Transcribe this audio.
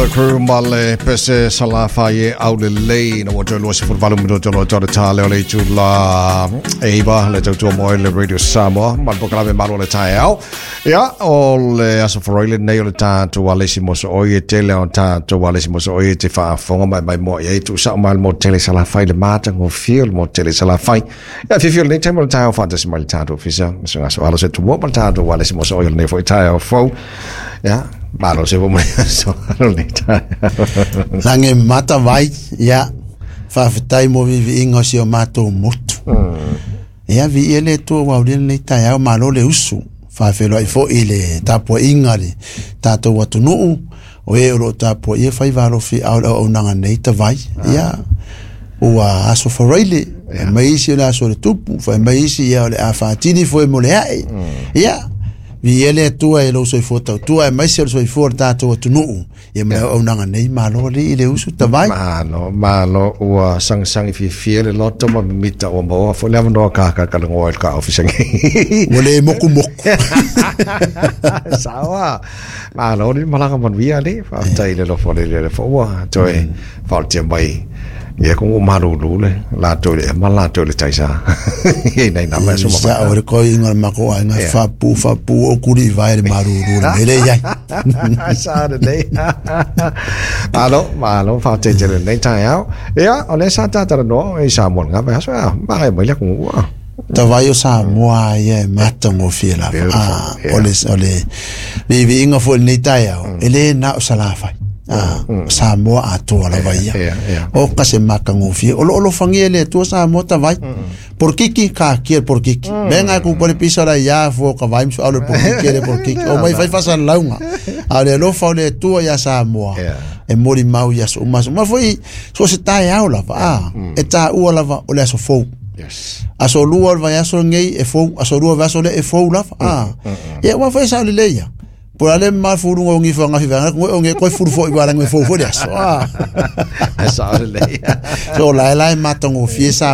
The Crew ma le pese Salafai e aulelei. Na ua toe 28 minuto no tau le tā leo le itula 9 le tautua moe le Radio Samoa ma le polokalame Malu o le Taeao. Ia, o le aso Faraile lenei o le tatou alesi mosooi e tele o tatou alesi mosooi e te faafofoga mai mai moa i ai tuusao mai le motu tele Salafai le matagofie o le motu tele Salafai. Ia, fiafia o lenei taimi o le taeao faatasi mai le tatou ofisa ma se gaso alo se tumua ma le tatou alesi mosooi o lenei foi taeao fou. Ia, malo se mo aso alo lenei taeao. Lagi mata vai, ia, faafetai mo viiviiga o si o matou motu. Ia, viia le Atua ua aulia lenei taeao, malo le usu. Faafeiloai foi i le tapuaiga a le tatou atunuu, o e o lo o tapuaia faiva alofi ao le auaunaga nei tavai. Ia, ua aso Faraile, fai mai isi o le aso o le tupu, fai mai isi ia o le a faatini foe mo le ae. Ia, viia le Atua i lou soifua tautua, aemaise o le soifua o le tatou atunuu. Ia ma le auaunaga nei, malo alii i le usu tavai. Malo, malo, ua sagisagi fiafia le loto ma mimita ua maua foi le avanoa kakakalagoa i le ka ofisa nei. Ua le mokumoku. Sawa. Malo le malaga manuia alii. Faafetai i le alofa o le Alii foi ua toe faaolatia mai ia ko malulu le latou le ma latou le taisa. Ia ina ina mai so ma. Sa o le koi inga mako ai nga fapu fapu o kuli vai le malulu le mele iai. Sa le nei. Malo, malo, faafetai tele lenei taeao. Ia, o lea sa tatalanoa i Samoa i lena vaiaso, ia, magaia mai le atunuu. Tavai o Samoa ia e matagofie lava. Beautiful, yeah. O le, o le viiviiga foi i lenei taeao, e le na o Salafai. Samoa atoa lava ia. O ka se matagofie. O lo o alofagia e le Atua Samoa tavai. Porokiki, kakia le porokiki. Mea ngai ku pale pisa la ia fo ka vai msu au le porokiki le porokiki. O mai fai fasalalauga. A o le alofa o le Atua ia Samoa. E molimau i aso uma aso uma. Foi so se taeao lava. E taua lava o le aso fou. Aso lua o le vaiaso lenei e fou, aso lua o le vaiaso lea e fou lava. Ia ua foi sao lelei ia. Po o le a le mamalu fuluga o gifa gafi vaega ngoe o nge koe fulu foi wala ngoe fou foi le aso. Sao lelei. So la e la e matagofie sa.